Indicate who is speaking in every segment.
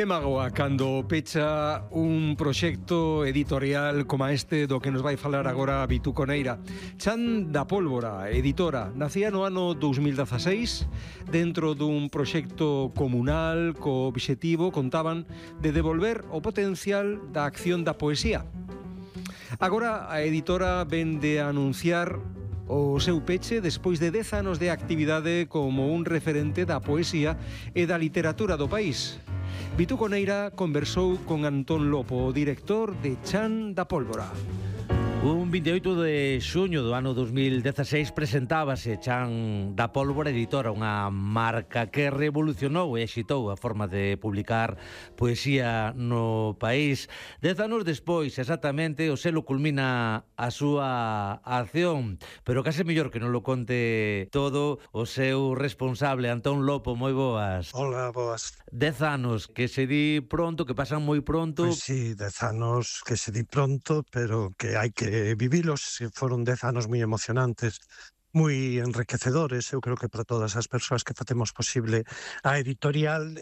Speaker 1: Que magoa cando pecha un proxecto editorial como este do que nos vai falar agora Vitú Coneira. Chan da Pólvora, editora, nacía no ano 2016 dentro dun proxecto comunal co obxectivo, contaban, de devolver o potencial da acción da poesía. Agora a editora vende a anunciar o seu peche despois de 10 anos de actividade como un referente da poesía e da literatura do país. Vitú Coneira conversou con Antón Lopo, o director de Chan da Pólvora.
Speaker 2: Un 28 de xuño do ano 2016 presentábase Chan da Pólvora Editora, unha marca que revolucionou e exitou a forma de publicar poesía no país. 10 anos despois, exactamente, o selo culmina a súa acción, pero case mellor que non lo conte todo o seu responsable, Antón Lopo. Moi boas.
Speaker 3: Hola, boas.
Speaker 2: 10 anos que se di pronto, que pasan moi pronto.
Speaker 3: Pois sí, 10 anos que se di pronto, pero que hai que vivilos. Foron 10 anos moi emocionantes, moi enriquecedores. Eu creo que para todas as persoas que facemos posible a editorial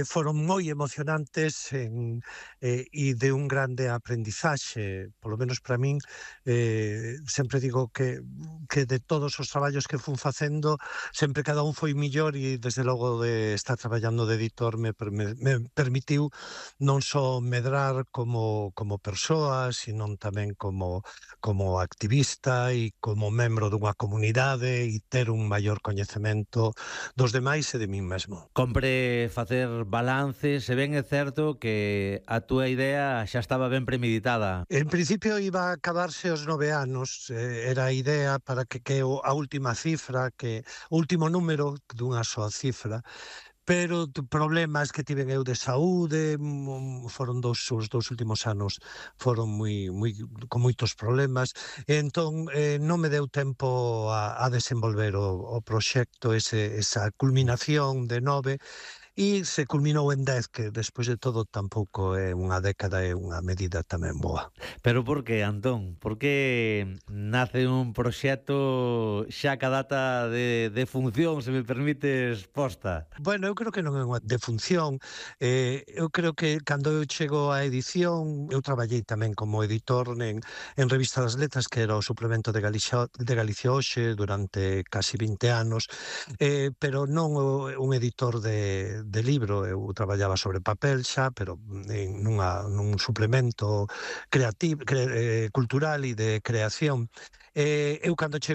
Speaker 3: foron moi emocionantes e de un grande aprendizaxe, polo menos para min. Sempre digo que de todos os traballos que fun facendo, sempre cada un foi millor, e desde logo de estar traballando de editor me permitiu non só medrar como persoa, sino tamén como activista e como membro dunha comunidade, e ter un maior coñecemento dos demais e de min mesmo.
Speaker 2: Compre facer balances, se ben é certo que a túa idea xa estaba ben premeditada.
Speaker 3: En principio iba a acabarse os 9 anos, era a idea para que a última cifra, que o último número dunha soa cifra, pero problemas que tiven eu de saúde, foron os dous últimos anos foron con moitos problemas, e entón non me deu tempo a desenvolver o proxecto, esa culminación de 9, e se culminou en 10, que despois de todo tampouco é unha década, é unha medida tamén boa.
Speaker 2: Pero por que, Antón? Por que nace un proxecto xa ca data de función, se me permites, posta?
Speaker 3: Bueno, eu creo que non é unha defunción. Eu creo que cando eu chego á edición, eu traballei tamén como editor en Revista das Letras, que era o suplemento de Galicia Hoxe durante casi 20 anos, pero non un editor de libro. Eu traballaba sobre papel xa, pero nun suplemento creativo, cultural e de creación. Eu cando chego